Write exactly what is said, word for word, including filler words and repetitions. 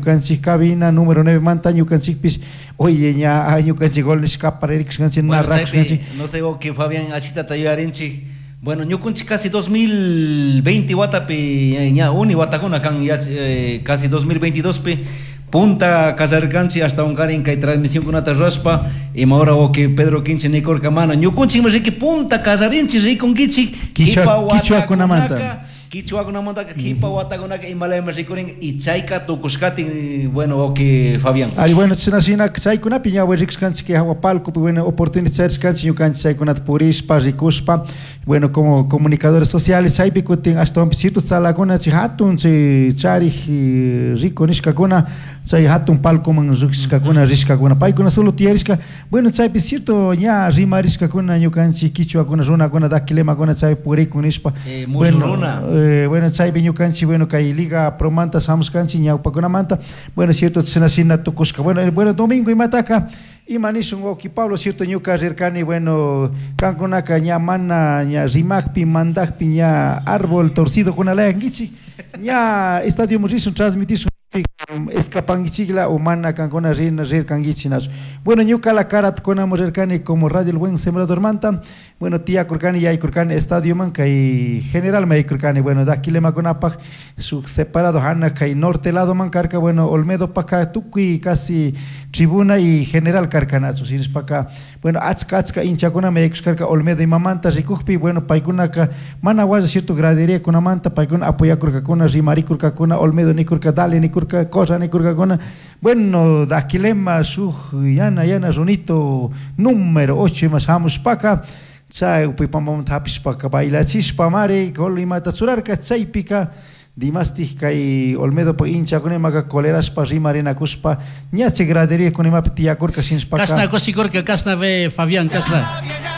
Ñukanchik cabina número nueve manta ñukanchikpish, oye, ña ñukanchik gol nishka pararikushkanchik, narrakushkanchik. No sé, que Fabián achitata yuyarinchik. Bueno, ñukunchik casi dos mil veinte watapi, ña uni watakuna kan, ya, eh, casi dos mil veintidós pi punta kasarkanchik hasta unkarin kay transmisión kunata rurashpa, ima hora wawqi Pedro Quinche nikurka mana ñukunchikmi riki punta kasarinchik rikunkichik Quichua, quichuakunamanta. Quichuakunamantaka kipa watakunaka imalaymi rikurin y chayka tukushkatin, bueno, wawqi Fabián. Ay, bueno, china shina chaykunapi ña rikushkanchik hawa palcopi, bueno, oportunidad charishkanchik ñukanchik chaykunata purishpa rikushpa, bueno, como comunicadores sociales chaypi kutin ashtawanpish cierto tzalakuna chay hatun chay charij rico nishkakuna chay hatun palcoman rishkakuna rishkakuna paykuna solo tiyarishka, bueno, chaypi cierto ña rimarishkakuna ñukanchik quichuakuna runakuna dakilemakuna chay purikun nishpa. Eh, Bueno, runa. eh, bueno, chaypi ñukanchik, bueno, kay Liga Promanta shamushkanchik ñawpakunamanta, bueno, cierto china shina tukushka. Bueno, eh, bueno, domingo imataka ima nishun wawqi Pablo, cierto ñuka rirkani, bueno, kankunaka ña mana ña rimakpi mandakpi ña árbol torcido kunalayankichik, ña estadio rishun transmitishun escapankichikla o mana kankuna rin rirkankichik nachu. Bueno, ñuka la karat kunamu rirkani como Radio El Buen Sembrador manta, bueno, tiyakurkani yaykurkani estadio man kay general me yaykurkani, bueno, dakilemakunapaj su separado hana kay norte lado man karka, bueno, Olmedo paka tukuy casi tribuna y general karkanachu, sinishpaka, bueno, achka achka hinchakuna me yaykushkarka Olmedo imamanta rikukpi, bueno, paykunaka mana walla cierto gradería kunamanta paykuna apoyakurkakuna rimarikurkakuna Olmedo nikurka dale nikurka cosa nikurkakuna, bueno, dakilema shuk yana yana runito número ocho ima shamushpaka chay upipamamanta hapishpaka bailachishpa mari gol imata churarka chaypika dimastij kay Olmedo pa hinchakuna imaka colerashpa rimarinakushpa ña chay gradería kuna imapi tiyakurka shinshpaka. Kasna kushikurka, kasna ve Fabián, kasna.